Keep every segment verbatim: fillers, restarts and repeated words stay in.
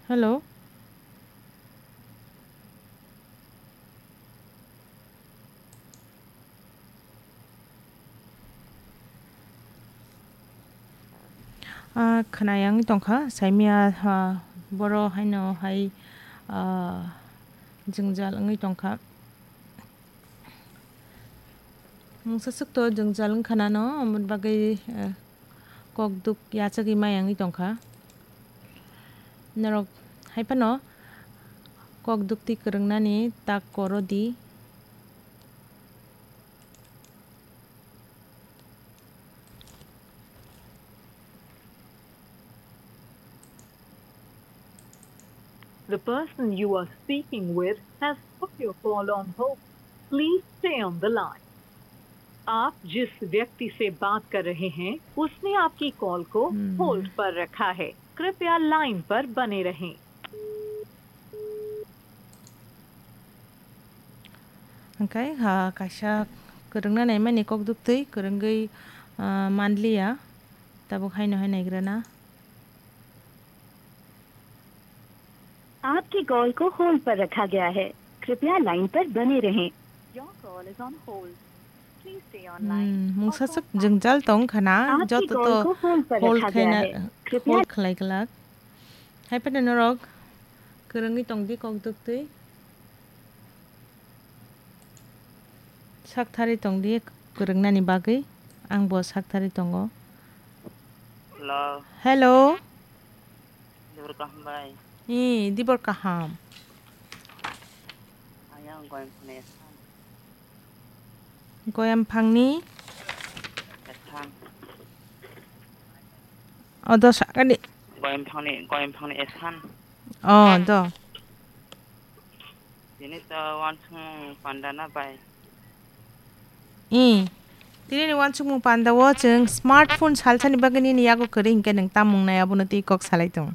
Hello. Ah, khwnaya wngwi tongkha, saimia, ah, boro haino hai, ah, jwngjal wngwi tongkha. Mungsa swkto jwngjal wngkha nano, aboni bagwi, eh, kok duk yachagwi maya wngwi tongkha. Norok hai phano kok duk twi kwrwngnani tak koro di. The person you are speaking with has put your call on hold. Please stay on the line. आप जिस व्यक्ति से बात कर रहे हैं, उसने आपकी कॉल को हम्म। होल्ड पर रखा है। कृपया लाइन पर बने रहें। Hwnkhe, ha, kaisa kwrwngna naimani kok duktwi kwrwngwi, ah, manliya, tabuk haino hai naigrana. आपकी कॉल को होल्ड पर रखा गया है। कृपया लाइन पर बने रहें। Your call is on hold. Please stay on line. Hmm, mungsa swk jwngjal tong khana, आपकी joto कॉल to को होल्ड पर hold रखा गया khaina, है। कृपया hold khlai glak. Hai phano norok kwrwngwi tong di kok duktwi. Sak thari tong di kwrwngnani bagwi, ang bo sak thari tongo. Hello. Hello. Dibor kaham bai. Ee, dibor kaham. Ayang goyang phone esan. Goyam phangni. Esan. Odo sakani. Goyam phangni, goyam phangni esan. Oh, do. Tini to wansung panda na bai. Ee. Tini ni wansukmung panda o chwng smartphone salsani bagwi nini yago kwrwi hinkhe nwng tamung nai abono twi kok salai tong.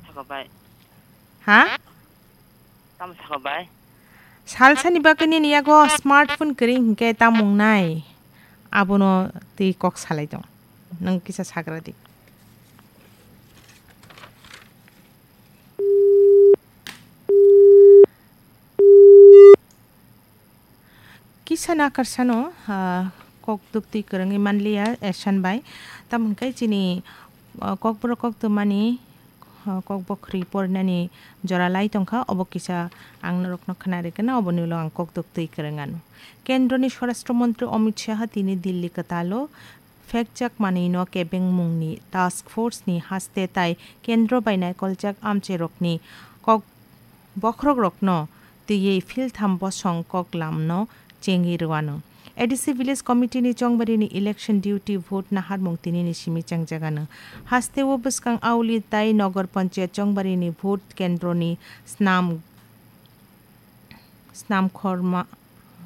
Saka bai. Ha? Tamo saka bai? Salsani bagwi nini yago smartphone kwrwi hinkhe tamung nai abono twi kok salai tong. Nwng kisa sagra di. Kisa nakarsano, ah, kok duktwi kwrwngwi manliya, Esan bai. Tamo hwnkhe chini, ah, kokborok koktwmani, ah, kokbo khri porinani jora lai tongkha, obo kisa ang norokno khna rikana, oboni ulo ang kok duktwi kwrwng anw. Kendroni Swarashtra Montri Amit Shah tini Dilli kwtalo Phekjak manwino kebengmungni task force ni haste tai kendro bai naikoljak amchairokni kok bokhorokrokno twiwi philtham bosong koklamno chengwi rwano. A D C Village Committee ni Chongbarini election duty vote naharmung tinini simi chengjakano. Hasteo bwskang Auli tai Nogor Panchayat Chongbarini vote kendroni snam Snamkhorma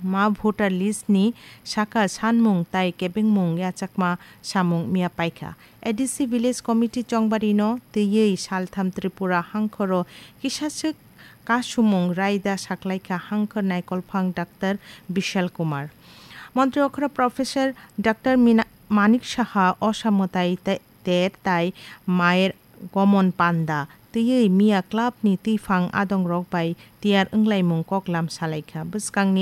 ma voter list ni saka sanmung tai kebengmung yachakma samung miya paikha. A D C Village Committee Chongbarino twiwi saltham Tripura hangkhoro kisaswk kasumung raida saklaikha hangkhor naikolphang Doctor Bishal Kumar. Montri okhoro Professor Doctor Mina-, Manik Saha, Osa Mwtai te-, ter tai Mayer Gomon Panda twiwi miya club ni twiphang adongrok bai tiyar wnglaimung koklam salaikha. Bwskangni